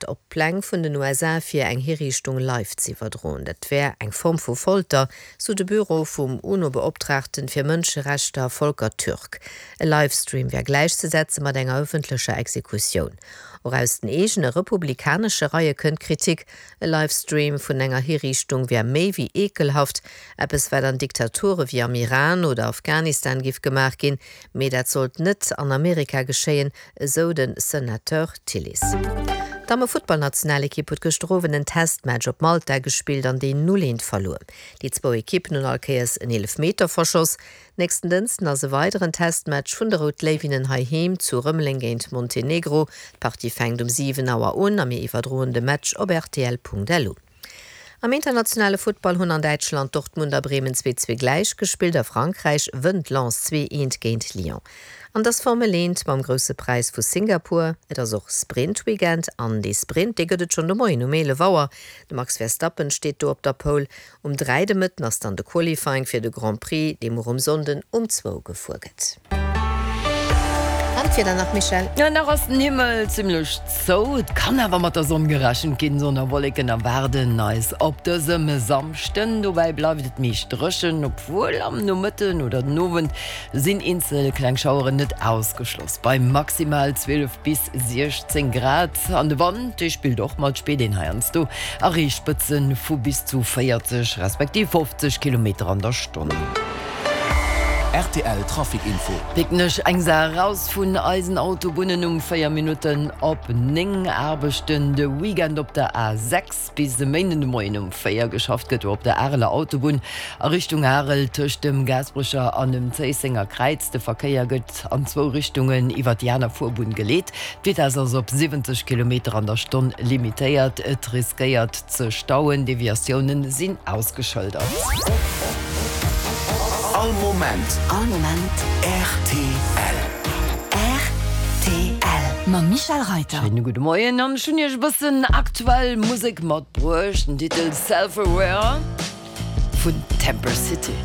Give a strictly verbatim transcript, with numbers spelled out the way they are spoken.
op d'Pläng vun den U S A fir eng Hiriichtung live ze iwwerdroen. Dat wär eng Form vu Folter, sou de Büro vum UNO-Beoptraagten fir Mënscherechter Volker Türk. E Livestream wär gläichzesetze mat enger ëffentlecher Exekutioun. Och aus den eegene republikanesche Reie kënnt Kritik. E Livestream vun enger Hiriichtung wär méi wéi eekelhaft, eppes wat an Diktature wéi am Iran oder Afghanistan géif gemaach ginn, mee dat sollt net an Amerika geschéien, esou den Senateur Tillis. D'Damme-Futtballnationalekipp huet gëschter Owend en Testmatch op Malta gespillt an deen null eent verluer. Déi zwou Ekippen hunn all Kéiers en Eelefmeter verschoss. Nächsten Dënschden ass e weideren Testmatch vun de Rout Léiwinnen heiheem zu Rëmeleng géint Montenegro. D'Partie fänkt um siwen Auer un a mir iwwerdroen de Match op rtl Punkt L U. Am internationale Futtball hunn an Däitschland Dortmund a Bremen zwee zwee gläich gespillt, a Frankräich wënnt Lens zwee eent géint Lyon. An et ass Formel eent mam Grousse Präis vu Singapur. Et ass och Sprint-Weekend an dee Sprint, dee gëtt et schonn de Moien um eelef Auer. De Max Verstappen steet do op der Pole. Um dräi de Mëtten ass dann de Qualifying fir de Grand Prix, dee muer um Sonnden um zwou gefuer gëtt. An d'Wieder nach, Michèle? Jo, nach ass den Himmel zimlech zou, et kann awer mat der Sonn gerechent ginn. Sonn a Wolleken erwaarden eis op dësem Samschden. Dobäi bleift et meescht dréchen, obwuel am Nomëtten oder den Owend sinn eenzel kleng Schaueren net ausgeschloss. Bei maximal zwielef bis siechzéng Grad. An de Wand, dee spillt och mat, spiert een heiansdo, erreecht Spëtze vu bis zu véierzeg respektiv fofzeg Kilometer an der Stonn. R T L Trafic Info. Picken ech eng Saach eraus vun eisen Autobunnen um véier Minutten op néng. Aarbechten de Weekend op der A sechs bis e Méinden de Moien um véier. Geschafft gëtt op der Areler Autobunn a Richtung Arel tëscht dem Gaasperecher an dem Zéissenger Kräiz. De Verkéier gëtt an zwou Richtungen iwwer déi aner Fuerbunn geleet. D'Vitess ass op siwwenzeg Kilometer an der Stonn limitéiert. Et riskéiert ze stauen, Deviatioune sinn ausgeschëldert. All Moment. All Moment. R T L. R T L. Mam Michèle Reyter. Schéine gudde Moien an ech hunn iech e bëssen aktuell Musek matbruecht, den Titel Self Aware vun Temper City.